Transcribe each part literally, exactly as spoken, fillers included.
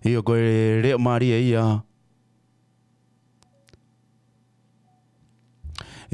ʻIo, ko e leʻo mālie ia.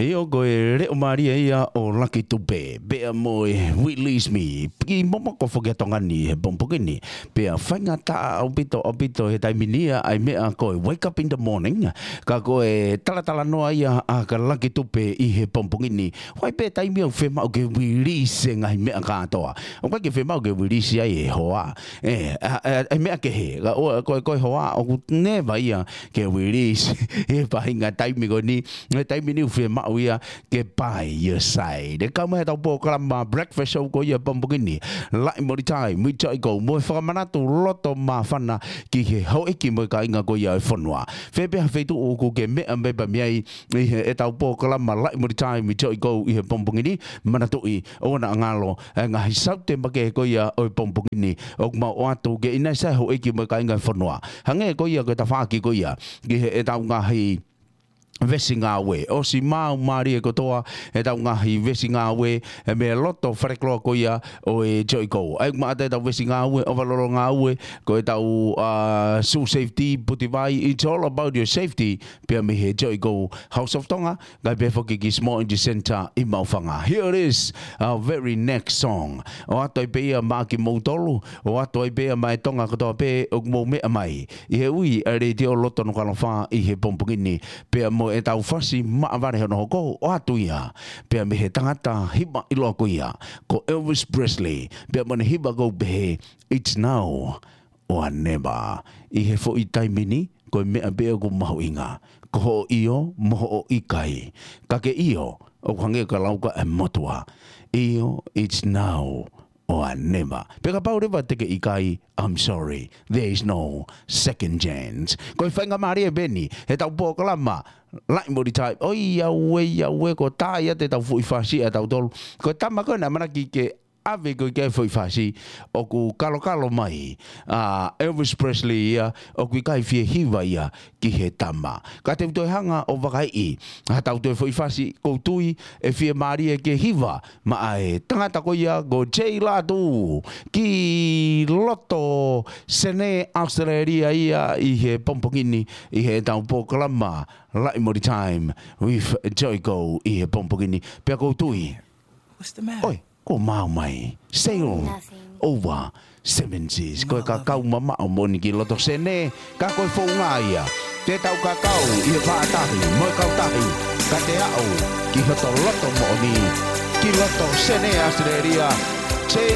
ʻIo, ko e leʻo mālie ia ʻo Lucky Tupe. Pea mo e Release Me. Kiʻi momoko foki ʻa Tonga ni he pongipongi ni. Pea faingataʻa ʻaupito, ʻaupito he taimi ni ia ʻa e meʻa ko e Wake Up in the Morning. Ka ko e talatalanoa ia ʻa ka Lucky Tupe ʻi he pongipongi ni. Ko e hā pē taimi ʻoku fiemaʻu ke release e ngaahi meʻa kātoa. ʻOku ʻikai ke fiemaʻu ke release ai e hoa. ʻE, ʻa, ʻa, ʻa e meʻa kehe. Ka ʻoua, ko e, ko e hoa, ʻoku never ia ke release. He faʻahinga taimi ko eni, he taimi ni ʻoku fiemaʻu ia ke by your side. ʻE kau mai ʻetau polokalama Breakfast Show ko ia pongipongi ni. Laʻi Moli Time, with Joe ʻIko, mo e fakamanatu loto māfana ki he houʻeiki mo e kāinga ko ia ʻo e fonua. Fē pē ha feituʻu ʻoku ke meʻa mai pē mei ai, ʻi heʻetau polokalama Laʻi Moli Time with Joe ʻIko ʻi he pongipongi ni, manatuʻi ʻoua naʻa ngalo e ngaahi saute makehe ko ia ʻo e pongipongi ni. ʻOku mau ʻoatu ke ʻi ai ha houʻeiki mo e kāinga ʻo e fonua. Hangē ko ia ko e tafaʻaki ko ia ki heʻetau ngaahi veesi ngāue. ʻOsi maau mālie kotoa ʻetau ngaahi veesi ngāue, ʻa e meʻa loto falekoloa ko ia ʻo e Joe ʻIko. ʻA ia ʻoku maʻu atu ʻetau veesi ngāue, ʻovalolo ngāue, ko ʻetau, uh, shoe safety, puti vai, it's all about your safety. Pea mei he Joe ʻIko House of Tonga, kae pehē foki ki Small Energy Center ʻi Maʻufanga. Here it is, our very next song. ʻOatu ai pē ia maʻa kimoutolu, ʻoatu ai pē ia maʻa e Tonga kotoa pē ʻoku mou meʻa mai ʻi he ui ʻa e Letiō Loto Nukuʻalofa ʻi he pongipongi ni. Pea mo ʻetau fasi maʻa vale hono hoko, ʻoatu ia. Pea mei he tangata hiva ʻiloa ko ia, ko Elvis Presley. Pea mo ʻene hiva ʻoku pehē, It's now or never. ʻI he foʻi taimi ni, ko e meʻa pē ʻoku mahuʻinga, ko hoʻo ʻio mo hoʻo ʻikai. Ka ke ʻio, ʻoku hangē ka lau ka e motuʻa. ʻIo, it's now or never. Pea kapau leva te ke ʻikai, I'm sorry, there is no second chance. Ko e faingamālie pē eni heʻetau polokalama Laʻi Moli Time. ʻOiauē, ʻiauē, kuo tā ia ʻetau foʻi fasi ʻatautolu. Ko e tama ko ē naʻe ʻamanaki ke ʻave ko ē ki ai e foʻi fasi, ʻoku kalokalo mai ʻa Elvis Presley ia, ʻoku ʻikai fie hiva ia ki he tama. Ka te u toe hanga ʻo vakaiʻi haʻatau toe foʻi fasi, ʻoku ou tui ʻe fiemālie ke hiva maʻa e tangata ko ia ko Jay Latu ki loto Senē ʻAositelēlia ia ʻi he pongipongi ni ʻi heʻetau polokalama Laʻi Moli Time with Joe ʻIko ʻi he pongipongi ni. Pea ʻoku ou tui. What's the matter? ʻOi, kuo maau mai. Sail over seven seas. Ko e kakau mamaʻo moʻoni ki loto Senē, ka ko e founga ia. Te tau kakau ʻi he vaʻa tahi mo e kautahi, ka te aʻu ki hoto loto moʻoni, ki loto Senē ʻAositelēlia. Jay